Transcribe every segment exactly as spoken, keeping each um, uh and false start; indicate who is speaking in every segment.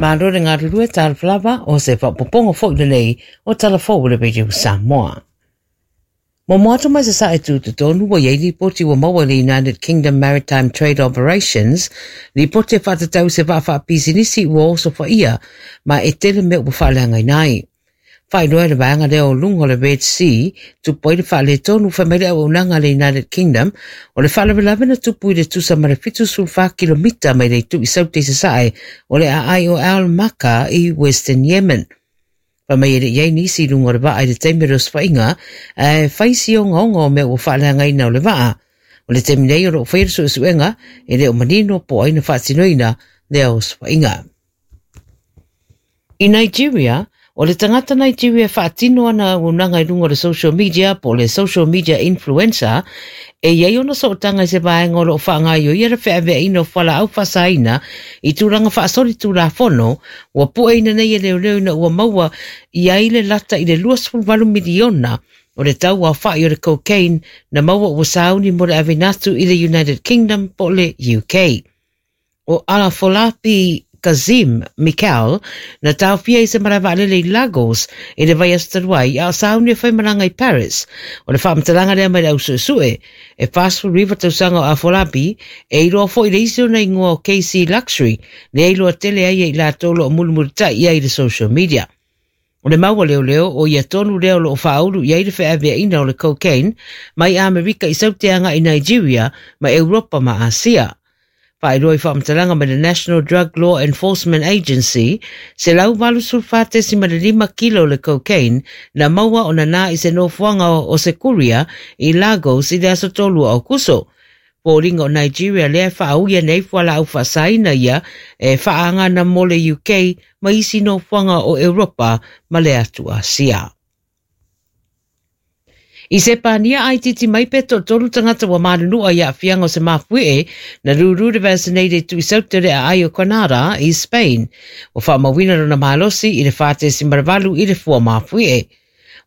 Speaker 1: Malo le galulue talofa lava o se faaopoopoga foi lenei o Tala Fou o le Radio Samoa. Mo moato mai sa sae tutotonu wa iei lipoti ua maua le United Kingdom Maritime Trade Operations, lipoti e faatatau se vaa faapisinisi ua oso faia ma e tele mea ua faaleagaina ai. Faailoa le vaega lea o luga o le Red Sea, tupu ai le faaletonu fai mai le auaunaga a le United Kingdom, o le faalavelave na tupu i le tusa ma le fitu sefulu fa kilomita mai le itu i Saute i Sasae o le aai o Al Maka i Western Yemen. Fai mai e le i ai nisi i luga o le vaa i le taimi o le osofaiga, ae fai si ogaoga o mea ua faaleagaina o le vaa. O le taimi nei o lo o faia le suesuega e le o manino po o ai na faatinoina lea osofaiga. I Nigeria, o le tagata Nigeria e faatino ana auaunaga i luga o le social media po o le social media influencer e i ai ona sootaga i se vaega o lo o faagaoioia le feaveaiina o fualaau faasaina i tulaga faasolitulafono ua pueina nei e leoleo ina ua maua i ai le lata i le lua sefulu valu miliona o le tau aofai o le cocaine na maua ua sauni mo le aveina atu i le United Kingdom po o le U K. O Afolabi Kazeem Mikel na taofia i se malae vaalele i Lagos i le vaiaso talu ai a o sauni e faimalaga i Paris. O le faamatalaga lea mai le ausuesue e fa sefulu iva tausaga o Afolabi e iloa foi le isi ona ingoa o K C Luxury lea iloa tele ai e i latou lo o mulimulitai i ai i le social media. O le maua leoleo o ia tonu lea o lo o faaulu i ai le feaveaiina o le cocaine mai Amerika i Saute agai i Nigeria ma Europa ma Asia. Faailoa i faamatalaga mai le National Drug Law Enforcement Agency, se lau valu sefulu fa tesima le lima kilo le cocaine na maua o nana i se nofoaga o Sekuria i Lagos i le aso tolu o Aukuso. Foliga o Nigeria lea e faauia nei fualaau faasaina ia e faaagana mo le U K ma isi nofoaga o Europa ma le atu Asia. I se pānia ai titi mai pe toatolu tagata ua malunua i aafiaga o se mafuie na rūrū le vaccinated tu i saute le aai o Granada i Spain. Ua faamauina lona malosi i le fa tesima le valu i le fua mafuie.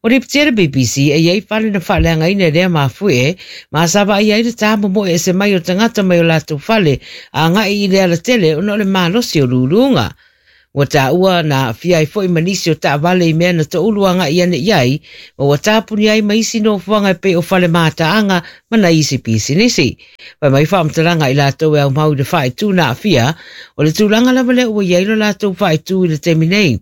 Speaker 1: O lipotia le B B C e iai fale na faaleagaina i lea mafuie ma sa vaai ai le tāmomoe e se mai o tagata mai o latou fale a agai i le alatele ona o le malosi o luluga. Ua tāua na aafia ai foi ma nisi o taavale i mea na toulu agai ane i ai, ma ua tāpuni ai ma isi nofoaga e pei o fale mataaga ma nai isi pisinisi. Fai mai faamatalaga i latou e aumau i le faaitu na aafia, o le tulaga lava lea ua i ai lo latou faaitu i le taimi nei.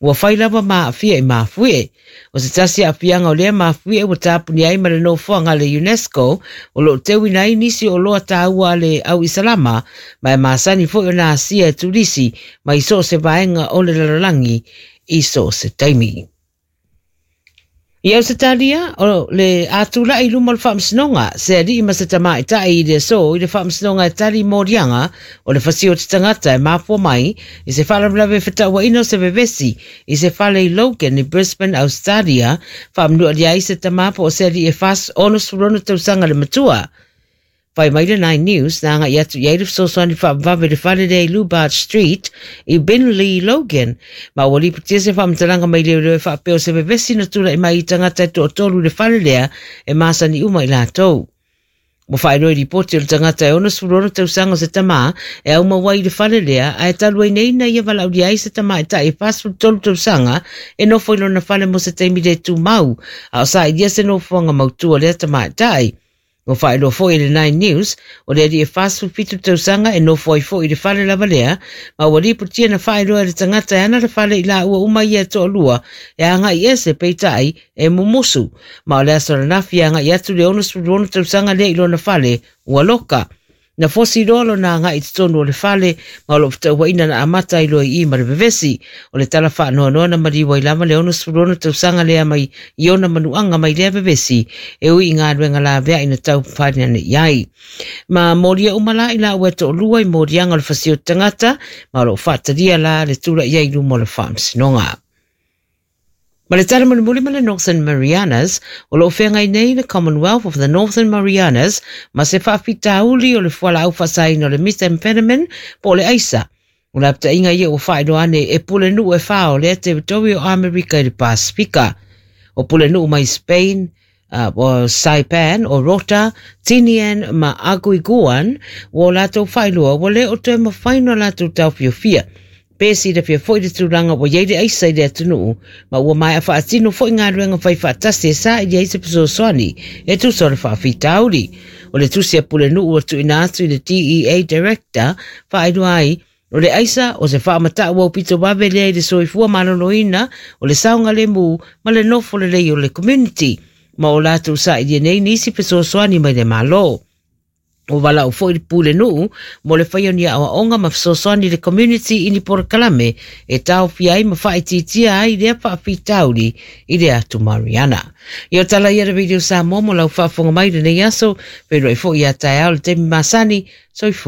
Speaker 1: Ua fai lava ma aafia i mafuie. O se tasi aafiaga o lea mafuie ua tāpuni ai ma le nofoaga a le UNESCO o loo teuina ai nisi o loa tāua a le au isalama ma e masani foi ona asia e turisi mai so o se vaega o le lalolagi i so o se taimi. I Ausetalia, o le atulai i luma o le faamasinoga, se alii ma se tamaitai i le aso i le faamasinoga e tali moliaga o le fasio o te tagata e mafua mai i se faalavelave fetauaina o se vevesi i se fale i Logan i Brisbane, Australia, faamanualia ai se tama po o se alii e fa ono sefulu ono tausaga le matua. Fai mai le Nine News na agai atu i ai le fesoasoani faavavave le fale lea i Lubart Street i Binley Logan. Ma ua lipotia se faamatalaga mai leoleo e faapea o se vevesi na tula'i mai i tagata e toatolu i le fale lea e masani uma i latou. Ua faailoa i lipoti o le tagata e ono sefulu ono tausaga o se tamā e aumau ai i le fale lea ae talu ai nei na ia valaaulia ai se tamaitai e fa sefulu tolu tausaga e nofo i lona fale mo se taimi le tumau a o sailia se nofoaga mautu o lea tamaitai. Ua faailoa foi i le Nine News o le alii e fa sefulu fitu tausaga e nofo ai foi i le fale lava lea ma ua lipotia na faailoa e le tagata e ana le fale i laua uma ia e toalua e agai ese peitai e mumusu ma o le aso ananafi e agai atu le ono sefulu ono tausaga lea i lona fale ua loka. Na fosi loa lona agai i totonu o le fale ma o loo fetauaina na amata ai loa i i ma le vevesi. O le tala faanoanoa na maliu ai lava le ono sefulu ono tausaga lea mai i ona manuaga mai lea vevesi e ui i galuega laveai na taumafai ane i ai. Ma molia uma la i laua e toalua i moliaga o le fasio o tagata ma o loo faatalia la le tula'i ai i luma o le faamasinoga. Ma le tala mulimuli ma le Northern Marianas, o loo feagai nei le Commonwealth of the Northern Marianas ma se faafitauli o le fualaau faasaina o le methamphetamine po o le aisa. O le apataiga ia ua faailoa ane e pulenuu e fa o lea teritori o Amerika i le Pasifika. O pulenuu mai Spain, uh, o Saipan, o Rota, Tinian ma Aguiguan, ua o latou faailoa ua le o toe mafai ona latou taofiofia. Pe silafia foi le tulaga ua iai le aisa i le atunuu ma ua maea faatino foi galuega fai faatasi e saili ai se fesoasoani e tusa o le faafitauli. O le tusi a Pulenuu ua tuuina atu i le D E A Director faailoa ai o le aisa o se faamatau aupito vave lea i le soifua maloloina, o le saogalemu ma le nofo lelei o le community, ma o latou sailia nei nisi fesoasoani mai le Malo. Ua valaau foi le Pulenuu mo le faia o ni aoaoga ma fesoasoani i le community i ni polokalame e taofia ai ma faaitiitia ai lea faafitauli i le atu Mariana. Ia o tala ia le Radio Samoa mo lau faafofoga mai lenei aso, feiloai foi ia taeao le taimi masani, soifua.